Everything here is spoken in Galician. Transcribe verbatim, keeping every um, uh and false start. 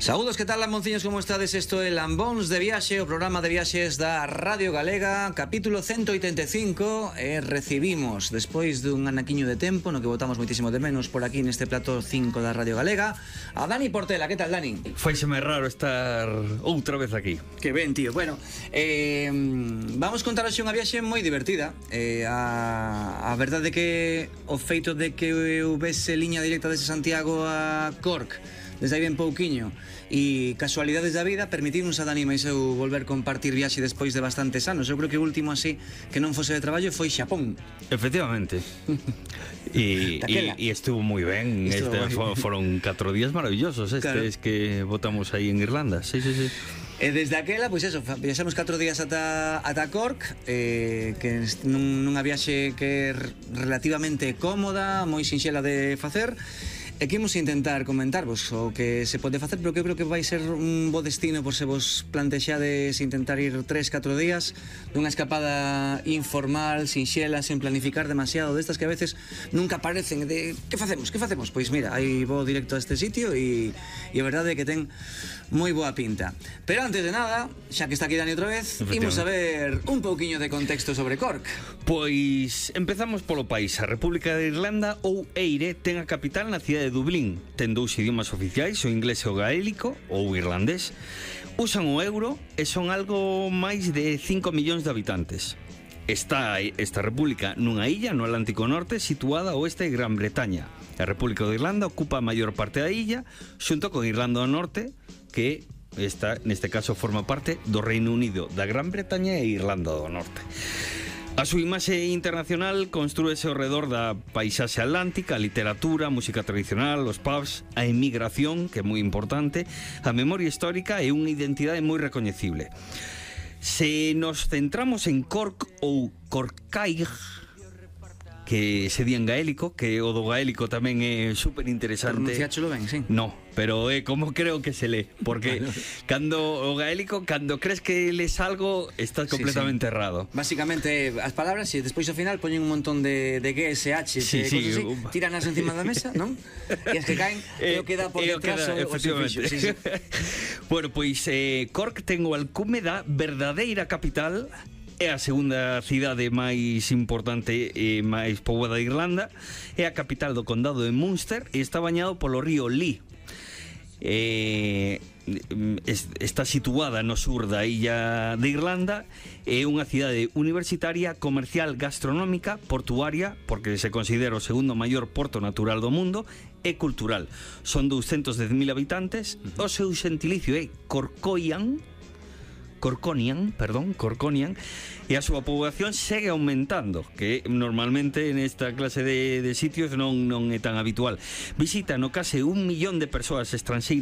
Saúdos, que tal, lambonciños, como estades? Isto é Lambóns de Viaxe, o programa de viaxes da Radio Galega, capítulo ciento oitenta e cinco, e recibimos, despois dun anaquiño de tempo, no que botamos moitísimo de menos por aquí neste plató cinco da Radio Galega, a Dani Portela. Que tal, Dani? Faiseme raro estar outra vez aquí. Que ben, tío. Bueno, eh, vamos contar hoxe unha viaxe moi divertida. eh, a, a verdade que o feito de que houvese liña directa desde Santiago a Cork desde aí ben pouquiño e casualidades da vida permitirnos a Dani e eu volver compartir viaxe despois de bastantes anos. Eu creo que o último así que non fose de traballo foi Xapón. Efectivamente. E, e, e estuvo moi ben. Estuvo este, moi... Foron catro días maravillosos estes, claro, que botamos aí en Irlanda. Sí, sí, sí. E desde aquela, pois eso, viaxamos catro días ata, ata Cork, eh, que nun, nunha viaxe que é relativamente cómoda, moi sinxela de facer. E que imos intentar comentarvos o que se pode facer, pero que eu creo que vai ser un bo destino por se vos plantexades intentar ir tres, catro días dunha escapada informal, sinxela, sen planificar demasiado, destas que a veces nunca aparecen, de que facemos, que facemos? Pois mira, aí vou directo a este sitio e, e a verdade é que ten moi boa pinta. Pero antes de nada, xa que está aquí Dani outra vez, imos a ver un pouquiño de contexto sobre Cork. Pois empezamos polo país. A República de Irlanda, ou Eire, ten a capital na cidade de Dublín. Ten dous idiomas oficiais, o inglés e o gaélico, ou irlandés. Usan o euro e son algo máis de cinco millóns de habitantes. Está esta república nunha illa no Atlántico Norte situada ao oeste de Gran Bretaña. A República de Irlanda ocupa a maior parte da illa, xunto con Irlanda do Norte, que esta, neste caso forma parte do Reino Unido, da Gran Bretaña e Irlanda do Norte. A súa imaxe internacional construíse ao redor da paisaxe atlántica, a literatura, a música tradicional, os pubs, a emigración, que é moi importante, a memoria histórica e unha identidade moi recoñecible. Se nos centramos en Cork ou Corcaig, que se di en gaélico, que o do gaélico tamén é super interesante. Pronunciáchelo ben, sí. No, pero é como creo que se lee, porque bueno, cando o gaélico, cando crees que lees algo, estás completamente sí, sí. errado. Básicamente, as palabras, e despois ao final poñen un montón de, de G S H, sí, de sí, cosas así, uh, tiranas encima da mesa, non? E as que caen, e o que dá por detrás o, o sufixo. Sí, sí. Bueno, pois eh, Cork ten o alcume da verdadeira capital. É a segunda cidade máis importante e máis poboada de Irlanda. É a capital do condado de Munster e está bañado polo río Lee. Eh, está situada no sur da illa de Irlanda. É unha cidade universitaria, comercial, gastronómica, portuaria, porque se considera o segundo maior porto natural do mundo, e cultural. Son douscentos dez mil habitantes. O seu xentilicio é Corcoian, Corconian, perdón, Corconian, e a súa poboación segue aumentando, que normalmente nesta clase de, de sitios non, non é tan habitual. Visita no case un millón de persoas estranxeiras